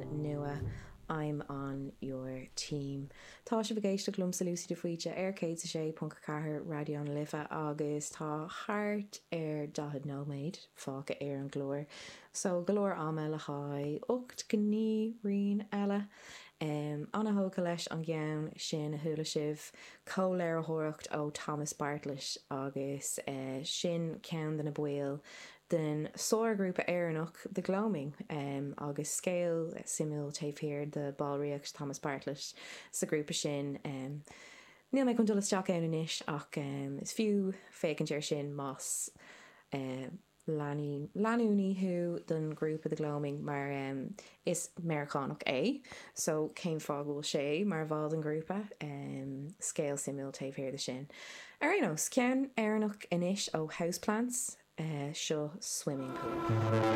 ceann nua I'm On Your Team. Tá sibh ag éisteacht liomsa Lucy de Faoite ar 106.4 Raidió na Life agus tá thart ar 40 nóiméad fágtha ar an gclár so go leor ama le haghaidh 8 gnaoi rian eile. An-thógtha leis an gceann sin a chuala sibh, comhléiritheoireacht ó Thomas Bartlett agus sin ceann de na baill den sárghrúpa Éireannach The Gloaming agus scéal suimiúil taobh thiar de ballraíocht Thomas Bartlett sa ghrúpa sin. Níl mé chun dul isteach ann anois ach is fiú féachaint air sin más leanúnaí thú den ghrúpa The Gloaming mar is Meiriceánach é so cén fáth go bhfuil sé mar bhall den ghrúpa? Scéal suimiúil taobh thiar de sin. Ar aon nós, ceann Éireannach anois ó Houseplants, seo Swimming Pool.